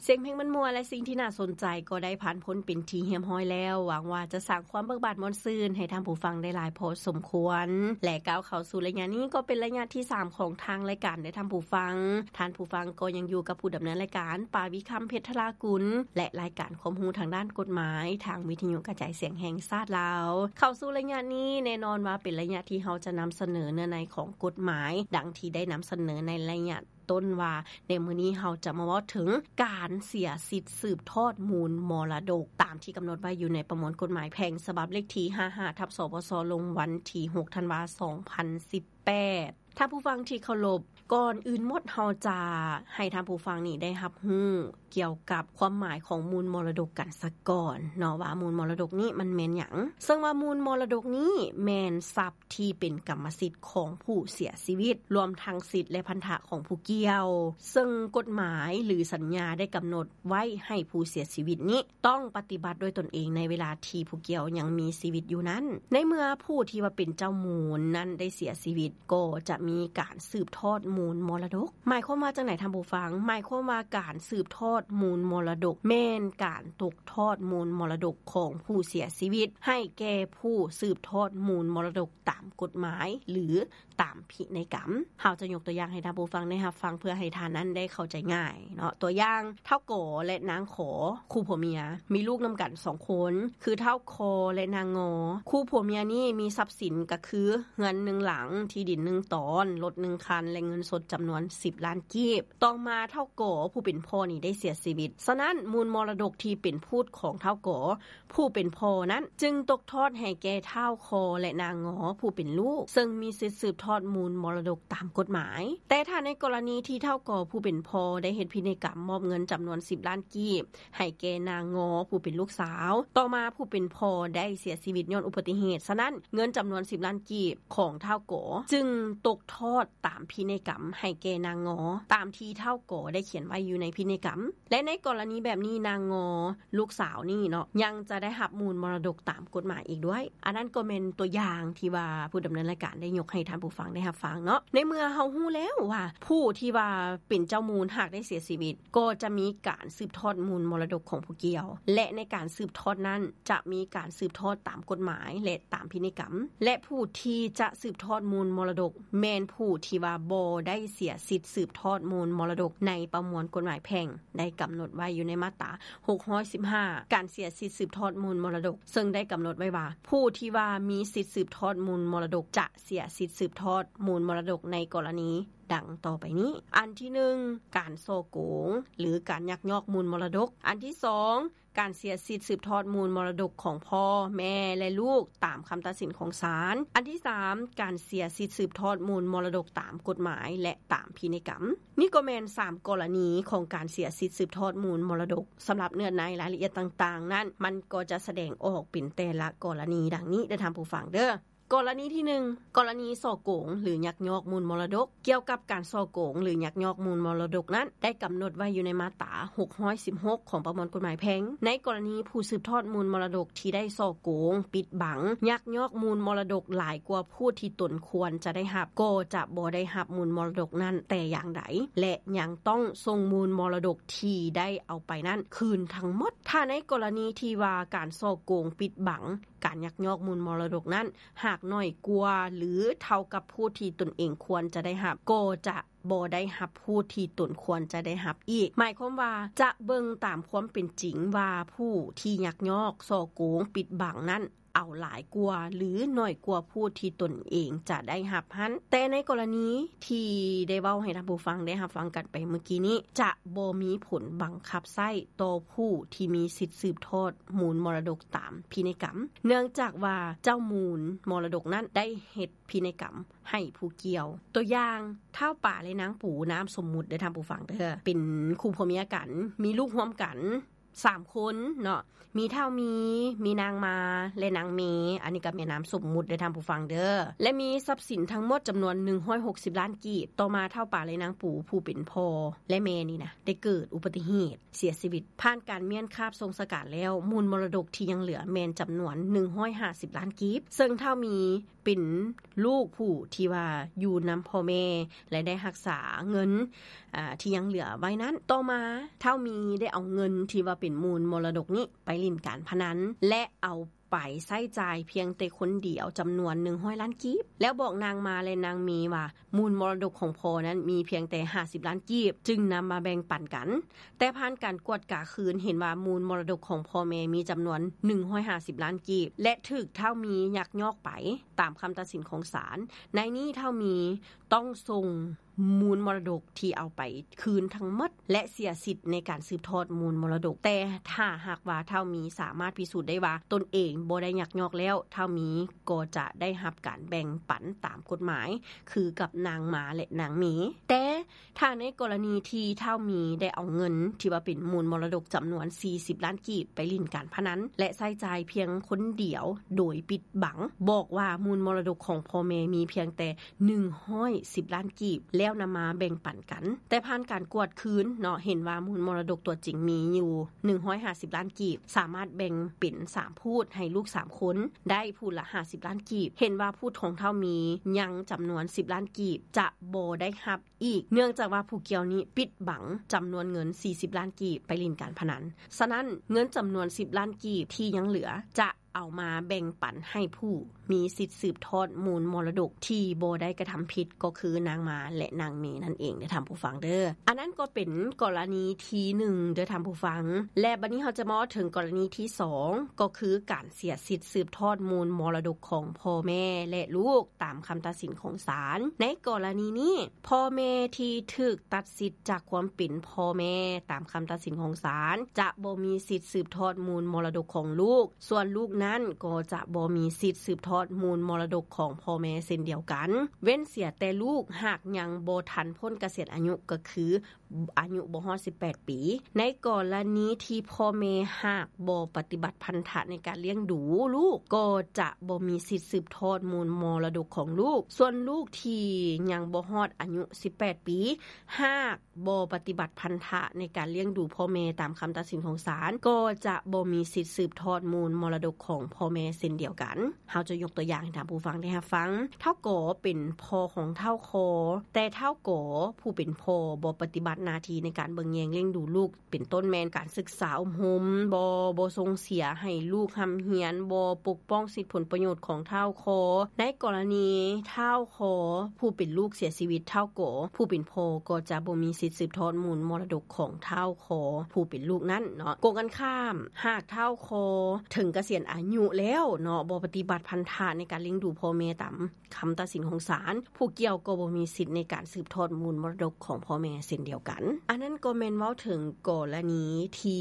ສຽງເພງມ່ວນໆ ແລະ ສິ່ງທີ່ໜ້າສົນໃຈກໍໄດ້ຜ່ານພົ້ນເປັນທີ່ຮຽບຮ້ອຍແລ້ວ. ຫວັງວ່າຈະສ້າງຄວາມເບີກບານມ່ວນຊື່ນໃຫ້ທ່ານຜູ້ຟັງໄດ້ຫຼາຍພໍສົມຄວນ ແລະ ກ້າວເຂົ້າສູ່ໄລຍະນີ້ກໍເປັນໄລຍະທີສາມຂອງທາງລາຍການເດີທ່ານຜູ້ຟັງ. ທ່ານຜູ້ຟັງກໍຍັງຢູ່ກັບຜູ້ດຳເນີນລາຍການ ປາວິຄຳ ເພັດທະລາກຸນ ແລະ ລາຍການຄວາມຮູ້ທາງດ້ານກົດໝາຍ ທາງວິທະຍຸກະຈາຍສຽງແຫ່ງຊາດລາວ. ເຂົ້າສູ່ໄລຍະນີ້ແນ່ນອນວ່າເປັນໄລຍະທີ່ເຮົາຈະນຳສະເໜີເນື້ອໃນຂອງກົດໝາຍ ດັ່ງທີ່ໄດ້ນຳສະເໜີໃນໄລຍະ ຕົ້ນວ່າ ໃນມື້ນີ້ເຮົາຈະມາເວົ້າເຖິງການເສຍສິດສືບທອດມູນມໍລະດົກ ຕາມທີ່ກຳນົດໄວ້ຢູ່ໃນປະມວນກົດໝາຍແພ່ງ ສະບັບເລກທີຫ້າຫ້າ ທັບ ສປສ ລົງວັນທີຫົກ ທັນວາ ສອງພັນສິບແປດ. ທ່ານຜູ້ຟັງທີ່ເຄົາລົບ, ກ່ອນອື່ນໝົດເຮົາຈະໃຫ້ທ່ານຜູ້ຟັງນີ້ໄດ້ຮັບຮູ້ກ່ຽວກັບຄວາມໝາຍຂອງມູນມໍລະດົກກັນສາກ່ອນເນາະ ວ່າມູນມໍລະດົກນີ້ມັນແມ່ນຫຍັງ. ເຊິ່ງວ່າມູນມໍລະດົກນີ້ແມ່ນຊັບ ທີ່ເປັນກຳມະສິດຂອງຜູ້ເສຍຊີວິດ, ລວມທັງສິດ ແລະ ພັນທະຂອງຜູ້ກ່ຽວ, ເຊິ່ງກົດໝາຍ ຫຼື ສັນຍາໄດ້ກຳນົດໄວ້ໃຫ້ຜູ້ເສຍຊີວິດນີ້ຕ້ອງປະຕິບັດດ້ວຍຕົນເອງໃນເວລາທີ່ຜູ້ກ່ຽວຍັງມີຊີວິດຢູ່ນັ້ນ. ໃນເມື່ອຜູ້ທີ່ວ່າເປັນເຈົ້າມູນນັ້ນໄດ້ເສຍຊີວິດ, ກໍຈະມີການສືບທອດມູນມໍລະດົກ. ໝາຍຄວາມວ່າຈັ່ງໃດທ່ານຜູ້ຟັງ? ໝາຍຄວາມວ່າການສືບທອດມູນມໍລະດົກ ແມ່ນການຕົກທອດມູນມໍລະດົກຂອງຜູ້ເສຍຊີວິດ ໃຫ້ແກ່ຜູ້ສືບທອດມູນມໍລະດົກ ຕາມກົດໝາຍ ຫຼື ຕາມພິໄນກຳ. ເຮົາຈະຍົກຕົວຢ່າງໃຫ້ທ່ານຜູ້ຟັງໄດ້ຮັບຟັງ ເພື່ອໃຫ້ທ່ານນັ້ນໄດ້ເຂົ້າໃຈງ່າຍເນາະ. ຕົວຢ່າງ, ທ້າວ ກ ແລະ ນາງ ຂ ຄູ່ຜົວເມຍ ມີລູກນຳກັນສອງຄົນ ຄືທ້າວ ຄ ແລະ ນາງ ງ. ຄູ່ຜົວເມຍນີ້ມີຊັບສິນກໍຄືເຮືອນໜຶ່ງຫຼັງ, ທີ່ດິນໜຶ່ງຕອນ, ລົດໜຶ່ງຄັນ ແລະ ເງິນສົດຈຳນວນສິບລ້ານກີບ. ຕໍ່ມາທ້າວ ກ ຜູ້ເປັນພໍ່ນີ້ໄດ້ເສຍຊີວິດ. ສະນັ້ນ, ມູນມໍລະດົກທີ່ເປັນພູດຂອງທ້າວ ກ ຜູ້ເປັນພໍ່ນັ້ນຈຶ່ງຕົກທອດໃຫ້ແກ່ທ້າວ ຄ ແລະ ນາງ ງ ຜູ້ເປັນລູກ ເຊິ່ງມີສິດສືບທອດມູນມໍລະດົກຕາມກົດໝາຍ. ແຕ່ຖ້າໃນກໍລະນີທີ່ທ້າວ ກ ຜູ້ເປັນພໍ່ໄດ້ເຮັດພິໄນກຳມອບເງິນຈຳນວນສິບລ້ານກີບໃຫ້ແກ່ນາງ ງ ຜູ້ເປັນລູກສາວ, ຕໍ່ມາຜູ້ເປັນພໍ່ໄດ້ເສຍຊີວິດຍ້ອນອຸບັດຕິເຫດ, ສະນັ້ນເງິນຈຳນວນສິບລ້ານກີບຂອງທ້າວ ກ ຈຶ່ງຕົກທອດຕາມພິໄນກຳໃຫ້ແກ່ນາງ ງ ຕາມທີ່ທ້າວ ກ ໄດ້ຂຽນໄວ້ຢູ່ໃນພິໄນກຳ. ແລະ ໃນກໍລະນີແບບນີ້ ນາງ ງ ລູກສາວນີ້ເນາະ ຍັງຈະໄດ້ຮັບມູນມໍລະດົກຕາມກົດໝາຍອີກດ້ວຍ. ອັນນັ້ນກໍແມ່ນຕົວຢ່າງທີ່ວ່າຜູ້ດຳເນີນລາຍການໄດ້ຍົກໃຫ້ທ່ານຜູ້ຟັງໄດ້ຮັບຟັງເນາະ. ໃນເມື່ອເຮົາຮູ້ແລ້ວວ່າຜູ້ທີ່ວ່າເປັນເຈົ້າມູນຫາກໄດ້ເສຍຊີວິດ ກໍຈະມີການສືບທອດມູນມໍລະດົກຂອງຜູ້ກ່ຽວ ແລະ ໃນການສືບທອດນັ້ນຈະມີການສືບທອດຕາມກົດໝາຍ ແລະ ຕາມພິໄນກຳ ແລະ ຜູ້ທີ່ຈະສືບທອດມູນມໍລະດົກ ແມ່ນຜູ້ທີ່ວ່າບໍ່ໄດ້ເສຍສິດສືບທອດມູນມໍລະດົກໃນປະມວນກົດໝາຍແພ່ງ ໄດ້ກຳນົດໄວ້ຢູ່ໃນມາດຕາຫົກຮ້ອຍສິບຫ້າ ການເສຍສິດສືບທອດມູນມໍລະດົກ ເຊິ່ງໄດ້ກຳນົດໄວ້ວ່າ ຜູ້ທີ່ວ່າມີສິດສືບທອດມູນມໍລະດົກ ຈະເສຍສິດສືບທອດມູນມໍລະດົກໃນກໍລະນີດັ່ງຕໍ່ໄປນີ້. ອັນທີໜຶ່ງ ການສໍ້ໂກງ ຫຼື ການຍັກຍອກມູນມໍລະດົກ. ອັນທີສອງ ການເສຍສິດສືບທອດມູນມໍລະດົກຂອງພໍ່, ແມ່ ແລະ ລູກ ຕາມຄຳຕັດສິນຂອງສານ. ອັນທີສາມ ການເສຍສິດສືບທອດມູນມໍລະດົກຕາມກົດໝາຍ ແລະ ຕາມພິໄນກຳ. ນີ້ກໍແມ່ນສາມກໍລະນີຂອງການເສຍສິດສືບທອດມູນມໍລະດົກ. ສຳລັບເນື້ອໃນລາຍລະອຽດຕ່າງໆນັ້ນ ມັນກໍຈະສະແດງອອກເປັນແຕ່ລະກໍລະນີດັ່ງນີ້ເດີທ່ານຜູ້ຟັງເດີ. ກໍລະນີທີໜຶ່ງ ກໍລະນີສໍ້ໂກງ ຫຼື ຍັກຍອກມູນມໍລະດົກ. ກ່ຽວກັບການສໍ້ໂກງ ຫຼື ຍັກຍອກມູນມໍລະດົກນັ້ນ ໄດ້ກຳນົດໄວ້ຢູ່ໃນມາດຕາຫົກຮ້ອຍສິບຫົກຂອງປະມວນກົດໝາຍແພ່ງ. ໃນກໍລະນີຜູ້ສືບທອດມູນມໍລະດົກທີ່ໄດ້ສໍ້ໂກງ, ປິດບັງ, ຍັກຍອກມູນມໍລະດົກຫຼາຍກວ່າຜູ້ທີ່ຕົນຄວນຈະໄດ້ຮັບ, ກໍຈະບໍ່ໄດ້ຮັບມູນມໍລະດົກນັ້ນແຕ່ຢ່າງໃດ ແລະ ຍັງຕ້ອງສົ່ງມູນມໍລະດົກທີ່ໄດ້ເອົາໄປນັ້ນຄືນທັງໝົດ. ຖ້າໃນກໍລະນີທີ່ວ່າການສໍ້ໂກງ, ປິດບັງ, ການຍັກຍອກມູນມໍລະດົກນັ້ນ ຫາກໜ້ອຍກວ່າ ຫຼື ເທົ່າກັບຜູ້ທີ່ຕົນເອງຄວນຈະໄດ້ຮັບ, ກໍຈະບໍ່ໄດ້ຮັບຜູ້ທີ່ຕົນຄວນຈະໄດ້ຮັບອີກ. ໝາຍຄວາມວ່າຈະເບິ່ງຕາມຄວາມເປັນຈິງວ່າຜູ້ທີ່ຍັກຍອກ, ສໍ້ໂກງ, ປິດບັງນັ້ນ ເອົາຫຼາຍກວ່າ ຫຼື ໜ້ອຍກວ່າຜູ້ທີ່ຕົນເອງຈະໄດ້ຮັບຫັ້ນ. ແຕ່ໃນກໍລະນີທີ່ໄດ້ເວົ້າໃຫ້ທ່ານຜູ້ຟັງໄດ້ຮັບຟັງກັນໄປເມື່ອກີ້ນີ້ ຈະບໍ່ມີຜົນບັງຄັບໃຊ້ຕໍ່ຜູ້ທີ່ມີສິດສືບທອດມູນມໍລະດົກຕາມພິໄນກຳ, ເນື່ອງຈາກວ່າເຈົ້າມູນມໍລະດົກນັ້ນໄດ້ເຮັດພິໄນກຳໃຫ້ຜູ້ກ່ຽວ. ຕົວຢ່າງ, ທ້າວປາ ແລະ ນາງປູ ນາມສົມມຸດເດີທ່ານຜູ້ຟັງເດີ, ເປັນຄູ່ຜົວເມຍກັນ, ມີລູກຮ່ວມກັນ, ສາມຄົນເນາະ ມີທ້າວມີ, ມີນາງມາ ແລະ ນາງເມ. ອັນນີ້ກໍແມ່ນນາມສົມມຸດເດີທ່ານຜູ້ຟັງເດີ. ແລະ ມີຊັບສິນທັງໝົດຈຳນວນໜຶ່ງຮ້ອຍຫົກສິບລ້ານກີບ. ຕໍ່ມາທ້າວປາ ແລະ ນາງປູ ຜູ້ເປັນພໍ່ ແລະ ແມ່ນີ້ນະ ໄດ້ເກີດອຸບັດຕິເຫດເສຍຊີວິດ. ຜ່ານການມ້ຽນຄາບສົ່ງສະການແລ້ວ, ມູນມໍລະດົກທີ່ຍັງເຫຼືອແມ່ນຈຳນວນໜຶ່ງຮ້ອຍຫ້າສິບລ້ານກີບ, ເຊິ່ງທ້າວມີ ເປັນລູກຜູ້ທີ່ວ່າຢູ່ນຳພໍ່ແມ່ ແລະ ໄດ້ຮັກສາເງິນ ອາ ທີ່ຍັງເຫຼືອໄວ້ນັ້ນ. ຕໍ່ມາທ້າວມີໄດ້ເອົາເງິນທີ່ວ່າເປັນມູນມໍລະດົກນີ້ໄປຫຼິ້ນການພະນັນ ແລະ ເອົາໄປໃຊ້ຈ່າຍພຽງແຕ່ຄົນດຽວຈຳນວນໜຶ່ງຮ້ອຍລ້ານກີບ ແລ້ວບອກນາງມາ ແລະ ນາງເມວ່າ ມູນມໍລະດົກຂອງພໍ່ນັ້ນມີພຽງແຕ່ຫ້າສິບລ້ານກີບ ຈຶ່ງນຳມາແບ່ງປັນກັນ. ແຕ່ຜ່ານການກວດກາຄືນເຫັນວ່າມູນມໍລະດົກຂອງພໍ່ແມ່ມີຈຳນວນໜຶ່ງຮ້ອຍຫ້າສິບລ້ານກີບ ແລະ ຖືກທ້າວມີຍັກຍອກໄປຕາມຄຳຕັດສິນຂອງສານ. ໃນນີ້ທ້າວມີຕ້ອງສົ່ງມູນມໍລະດົກທີ່ເອົາໄປຄືນທັງໝົດ ແລະ ເສຍສິດໃນການສືບທອດມູນມໍລະດົກ. ແຕ່ຖ້າຫາກວ່າທ້າວມີສາມາດພິສູດໄດ້ວ່າຕົນເອງບໍ່ໄດ້ຍັກຍອກແລ້ວ, ທ້າວມີກໍຈະໄດ້ຮັບການແບ່ງປັນຕາມກົດໝາຍ ຄືກັບນາງມາ ແລະ ນາງເມ. ແຕ່ ຖ້າໃນກໍລະນີທີ່ທ້າວມີໄດ້ເອົາເງິນທີ່ວ່າເປັນມູນມໍລະດົກຈຳນວນສີ່ສິບລ້ານກີບໄປຫຼິ້ນການພະນັນ ແລະ ໃຊ້ຈ່າຍພຽງຄົນດຽວໂດຍປິດບັງ, ບອກວ່າມູນມໍລະດົກຂອງພໍ່ແມ່ມີພຽງແຕ່ໜຶ່ງຮ້ອຍສິບລ້ານກີບ ແລ້ວນຳມາແບ່ງປັນກັນ. ແຕ່ຜ່ານການກວດຄືນເນາະ ເຫັນວ່າມູນມໍລະດົກຕົວຈິງມີຢູ່ໜຶ່ງຮ້ອຍຫ້າສິບລ້ານກີບ, ສາມາດແບ່ງເປັນສາມພູດໃຫ້ລູກສາມຄົນ ໄດ້ພູດລະຫ້າສິບລ້ານກີບ. ເຫັນວ່າພູດຂອງທ້າວມີຍັງຈຳນວນສິບລ້ານກີບ ຈະບໍ່ໄດ້ຮັບ ອີກ ເນື່ອງຈາກວ່າຜູ້ກ່ຽວນີ້ປິດບັງຈຳນວນເງິນສີ່ສິບລ້ານກີບໄປຫຼິ້ນການພະນັນ. ສະນັ້ນ, ເງິນຈຳນວນສິບລ້ານກີບທີ່ຍັງເຫຼືອ ຈະເອົາມາແບ່ງປັນໃຫ້ຜູ້ມີສິດສືບທອດມູນມໍລະດົກທີ່ບໍ່ໄດ້ກະທຳຜິດ ກໍຄືນາງມາ ແລະ ນາງເມນັ້ນເອງເດີທ່ານຜູ້ຟັງເດີ. ອັນນັ້ນກໍເປັນກໍລະນີທີໜຶ່ງເດີທ່ານຜູ້ຟັງ. ແລະ ບັດນີ້ເຮົາຈະມາເວົ້າເຖິງກໍລະນີທີສອງ ກໍຄືການເສຍສິດສືບທອດມູນມໍລະດົກຂອງພໍ່ແມ່ ແລະ ລູກ ຕາມຄຳຕັດສິນຂອງສານ. ໃນກໍລະນີນີ້, ພໍ່ແມ່ທີ່ຖືກຕັດສິດຈາກຄວາມເປັນພໍ່ແມ່ຕາມຄຳຕັດສິນຂອງສານ ຈະບໍ່ມີສິດສືບທອດມູນມໍລະດົກຂອງລູກ, ສ່ວນລູກນັ້ນກໍຈະບໍ່ມີສິດສືບທອດມູນມໍລະດົກຂອງພໍ່ແມ່ເຊັ່ນດຽວກັນ, ເວັ້ນເສຍແຕ່ລູກຫາກຍັງບໍ່ທັນພົ້ນກະສຽນອາຍຸ, ກໍຄື ອາຍຸບໍ່ຮອດສິບແປດປີ. ໃນກໍລະນີທີ່ພໍ່ແມ່ຫາກບໍ່ປະຕິບັດພັນທະໃນການລ້ຽງດູລູກ, ກໍຈະບໍ່ມີສິດສືບທອດມູນມໍລະດົກຂອງລູກ. ສ່ວນລູກທີ່ຍັງບໍ່ຮອດອາຍຸສິບແປດປີ, ຫາກບໍ່ປະຕິບັດພັນທະໃນການລ້ຽງດູພໍ່ແມ່ຕາມຄຳຕັດສິນຂອງສານ, ກໍຈະບໍ່ມີສິດສືບທອດມູນມໍລະດົກຂອງພໍ່ແມ່ເຊັ່ນດຽວກັນ. ເຮົາຈະຍົກຕົວຢ່າງໃຫ້ທ່ານຜູ້ຟັງໄດ້ຮັບຟັງ. ທ້າວກໍເປັນພໍ່ຂອງທ້າວຄໍ, ແຕ່ທ້າວກໍຜູ້ເປັນພໍ່ບໍ່ປະຕິບັດໜ້າທີ່ໃນການເບິ່ງແຍງລ້ຽງດູລູກ, ເປັນຕົ້ນແມ່ນການສຶກສາອົບຮົມ, ບໍ່, ບໍ່ສົ່ງເສຍໃຫ້ລູກຮ່ຳຮຽນ, ບໍ່ປົກປ້ອງສິດຜົນປະໂຫຍດຂອງທ້າວຄໍ. ໃນກໍລະນີທ້າວຄໍຜູ້ເປັນລູກເສຍຊີວິດ, ທ້າວກໍຜູ້ເປັນພໍ່ກໍຈະບໍ່ມີສິດສືບທອດມູນມໍລະດົກຂອງທ້າວຄໍຜູ້ເປັນລູກນັ້ນເນາະ. ກົງກັນຂ້າມ, ຫາກທ້າວຄໍເຖິງກະສຽນອາຍຸແລ້ວເນາະ, ບໍ່ປະຕິບັດພັນທະໃນການລ້ຽງດູພໍ່ແມ່ຕາມຄຳຕັດສິນຂອງສານ, ຜູ້ກ່ຽວກໍບໍ່ມີສິດໃນການສືບທອດມູນມໍລະດົກຂອງພໍ່ແມ່ເຊັ່ນດຽວກັນ. ອັນນັ້ນກໍແມ່ນເວົ້າເຖິງກໍລະນີທີ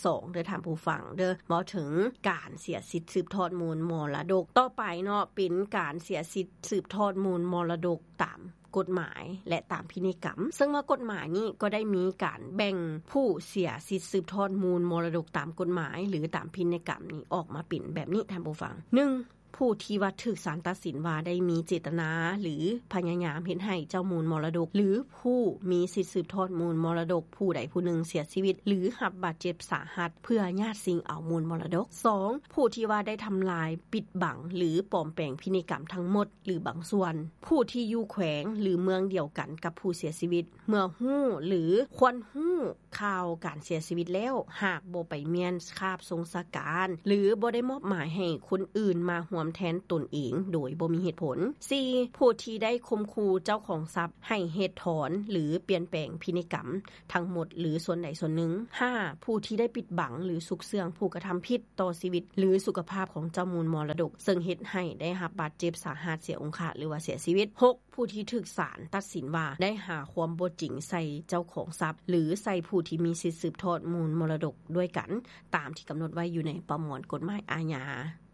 ສອງເດີທ່ານຜູ້ຟັງເດີ, ເວົ້າເຖິງການເສຍສິດສືບທອດມູນມໍລະດົກ. ຕໍ່ໄປເນາະ, ເປັນການເສຍສິດສືບທອດມູນມໍລະດົກຕາມ ກົດໝາຍ ແລະ ຕາມພິໄນກຳ. ເຊິ່ງວ່າກົດໝາຍນີ້ກໍໄດ້ມີການແບ່ງຜູ້ເສຍສິດສືບທອດມູນມໍລະດົກຕາມກົດໝາຍ ຫຼື ຕາມພິໄນກຳນີ້ອອກມາເປັນແບບນີ້ທ່ານຜູ້ຟັງ. ໜຶ່ງ ຜູ້ທີ່ວ່າຖືກສານຕັດສິນວ່າໄດ້ມີເຈດຕະນາ ຫຼື ພະຍາຍາມເຮັດໃຫ້ເຈົ້າມູນມໍລະດົກ ຫຼື ຜູ້ມີສິດສືບທອດມູນມໍລະດົກຜູ້ໃດຜູ້ໜຶ່ງເສຍຊີວິດ ຫຼື ຮັບບາດເຈັບສາຫັດ ເພື່ອຍາດຊິງເອົາມູນມໍລະດົກ. ສອງ ຜູ້ທີ່ວ່າໄດ້ທຳລາຍ, ປິດບັງ ຫຼື ປອມແປງພິໄນກຳທັງໝົດ ຫຼື ບາງສ່ວນ. ຜູ້ທີ່ຢູ່ແຂວງ ຫຼື ເມືອງດຽວກັນກັບຜູ້ເສຍຊີວິດ ເມື່ອຮູ້ ຫຼື ຄວນຮູ້ຂ່າວການເສຍຊີວິດແລ້ວ ຫາກບໍ່ໄປມ້ຽນຄາບສົງສະການ ຫຼື ບໍ່ໄດ້ມອບໝາຍໃຫ້ຄົນອື່ນມາຮ່ວມແທນຕົນເອງໂດຍບໍ່ມີເຫດຜົນ. ສີ່ ຜູ້ທີ່ໄດ້ຂົ່ມຂູ່ເຈົ້າຂອງຊັບໃຫ້ເຮັດຖອນ ຫຼື ປ່ຽນແປງພິໄນກຳ ທັງໝົດ ຫຼື ສ່ວນໃດສ່ວນໜຶ່ງ. ຫ້າ ຜູ້ທີ່ໄດ້ປິດບັງ ຫຼື ຊຸກເຊື່ອງຜູ້ກະທຳຜິດຕໍ່ຊີວິດ ຫຼື ສຸຂະພາບຂອງເຈົ້າມູນມໍລະດົກ ເຊິ່ງເຮັດໃຫ້ໄດ້ຮັບບາດເຈັບສາຫັດ, ເສຍອົງຄະ ຫຼືວ່າເສຍຊີວິດ. ຫົກ ຜູ້ທີ່ຖືກສານຕັດສິນວ່າໄດ້ຫາຄວາມບໍ່ຈິງໃສ່ເຈົ້າຂອງຊັບ ຫຼື ໃສ່ຜູ້ທີ່ມີສິດສືບທອດມູນມໍລະດົກດ້ວຍກັນ ຕາມທີ່ກຳນົດໄວ້ຢູ່ໃນປະມວນກົດໝາຍອາຍາ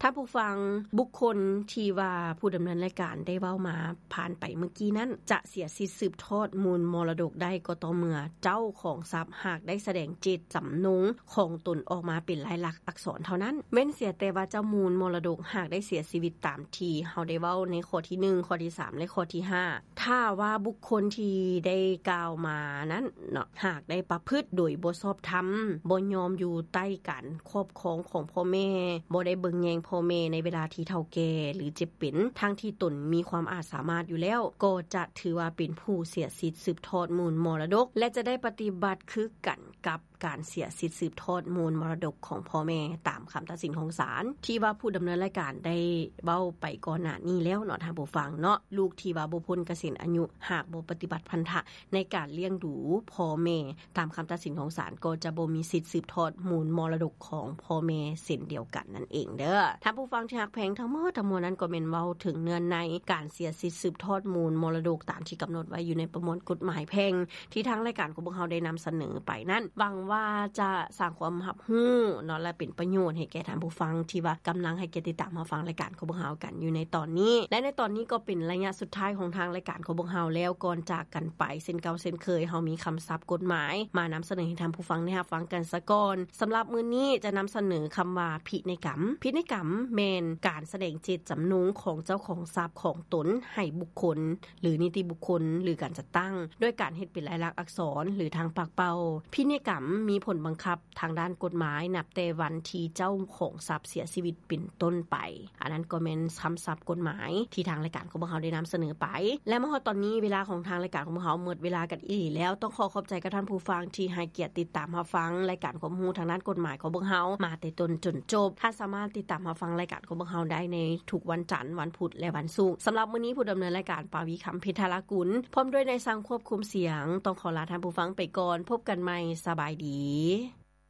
ທ່ານຜູ້ຟັງ, ບຸກຄົນທີ່ວ່າຜູ້ດຳເນີນລາຍການໄດ້ເວົ້າມາຜ່ານໄປເມື່ອກີ້ນັ້ນ ຈະເສຍສິດສືບທອດມູນມໍລະດົກໄດ້ກໍຕໍ່ເມື່ອເຈົ້າຂອງຊັບຫາກໄດ້ສະແດງເຈດຈຳນົງຂອງຕົນອອກມາເປັນລາຍລັກອັກສອນເທົ່ານັ້ນ, ເວັ້ນເສຍແຕ່ວ່າເຈົ້າມູນມໍລະດົກຫາກໄດ້ເສຍຊີວິດຕາມທີ່ເຮົາໄດ້ເວົ້າໃນຂໍ້ທີໜຶ່ງ, ຂໍ້ທີສາມ ແລະ ຂໍ້ທີຫ້າ. ຖ້າວ່າບຸກຄົນທີ່ໄດ້ກ່າວມານັ້ນເນາະ ຫາກໄດ້ປະພຶດໂດຍບໍ່ຊອບທຳ, ບໍ່ຍອມຢູ່ໃຕ້ການຄອບຄອງຂອງພໍ່ແມ່, ບໍ່ໄດ້ເບິ່ງແຍງພໍ່ແມ່ໃນເວລາທີ່ເຖົ້າແກ່ ຫຼື ເຈັບເປັນ, ທັງທີ່ຕົນມີຄວາມອາດສາມາດຢູ່ແລ້ວ, ກໍຈະຖືວ່າເປັນຜູ້ເສຍສິດສືບທອດມູນມໍລະດົກ ແລະ ຈະໄດ້ປະຕິບັດຄືກັນກັບ ການເສຍສິດສືບທອດມູນມໍລະດົກຂອງພໍ່ແມ່ຕາມຄຳຕັດສິນຂອງສານ ທີ່ວ່າຜູ້ດຳເນີນລາຍການໄດ້ເວົ້າໄປກ່ອນໜ້ານີ້ແລ້ວເນາະ ທ່ານຜູ້ຟັງເນາະ. ລູກທີ່ວ່າບໍ່ພົ້ນກະເສນອາຍຸ ຫາກບໍ່ປະຕິບັດພັນທະໃນການລ້ຽງດູພໍ່ແມ່ຕາມຄຳຕັດສິນຂອງສານ ກໍຈະບໍ່ມີສິດສືບທອດມູນມໍລະດົກຂອງພໍ່ແມ່ເຊັ່ນດຽວກັນນັ້ນເອງເດີ. ທ່ານຜູ້ຟັງທີ່ຮັກແພງ, ທັງໝົດທັງມວນນັ້ນກໍແມ່ນເວົ້າເຖິງເນື້ອໃນການເສຍສິດສືບທອດມູນມໍລະດົກຕາມທີ່ກຳນົດໄວ້ຢູ່ໃນປະມວນກົດໝາຍແພ່ງ ທີ່ທາງລາຍການຂອງພວກເຮົາໄດ້ນຳສະເໜີໄປນັ້ນ, ຫວັງວ່າຈະສ້າງຄວາມຮັບຮູ້ເນາະ ແລະ ເປັນປະໂຫຍດໃຫ້ແກ່ທ່ານຜູ້ຟັງທີ່ວ່າກຳລັງໃຫ້ກຽດຕິດຕາມຮັບຟັງລາຍການຂອງພວກເຮົາກັນຢູ່ໃນຕອນນີ້. ແລະ ໃນຕອນນີ້ກໍເປັນໄລຍະສຸດທ້າຍຂອງທາງລາຍການຂອງພວກເຮົາແລ້ວ, ກ່ອນຈາກກັນໄປ ເຊັ່ນເກົ່າເຊັ່ນເຄີຍ ເຮົາມີຄຳສັບກົດໝາຍມານຳສະເໜີໃຫ້ທ່ານຜູ້ຟັງໄດ້ຮັບຟັງກັນສາກ່ອນ. ສຳລັບມື້ນີ້ຈະນຳສະເໜີຄຳວ່າພິໄນກຳ. ພິໄນກຳແມ່ນການສະແດງເຈດຈຳນົງຂອງເຈົ້າຂອງຊັບຂອງຕົນໃຫ້ບຸກຄົນ ຫຼື ນິຕິບຸກຄົນ ຫຼື ການຈັດຕັ້ງ ໂດຍການເຮັດເປັນລາຍລັກອັກສອນ ຫຼື ທາງປາກເປົ່າ. ພິໄນກຳມີຜົນບັງຄັບທາງດ້ານກົດໝາຍ ນັບແຕ່ວັນທີ່ເຈົ້າຂອງຊັບເສຍຊີວິດເປັນຕົ້ນໄປ. ອັນນັ້ນກໍແມ່ນຄຳສັບກົດໝາຍທີ່ທາງລາຍການຂອງພວກເຮົາໄດ້ນຳສະເໜີໄປ. ແລະ ມາຮອດຕອນນີ້ ເວລາຂອງທາງລາຍການຂອງພວກເຮົາໝົດເວລາກັນອີກແລ້ວ. ຕ້ອງຂໍຂອບໃຈກັບທ່ານຜູ້ຟັງທີ່ໃຫ້ກຽດຕິດຕາມຮັບຟັງລາຍການຄວາມຮູ້ທາງດ້ານກົດໝາຍຂອງພວກເຮົາມາແຕ່ຕົ້ນຈົນຈົບ. ທ່ານສາມາດຕິດຕາມຮັບຟັງລາຍການ ຂອງພວກເຮົາໄດ້ໃນທຸກວັນຈັນ, ວັນພຸດ ແລະ ວັນສຸກ. ສຳລັບມື້ນີ້ ຜູ້ດຳເນີນລາຍການ ປາວີ ຄຳເພັດທະລາກຸນ ພ້ອມດ້ວຍນາຍຊ່າງຄວບຄຸມສຽງ ຕ້ອງຂໍລາທ່ານຜູ້ຟັງໄປກ່ອນ. ພົບກັນໃໝ່. ສະບາຍດີ.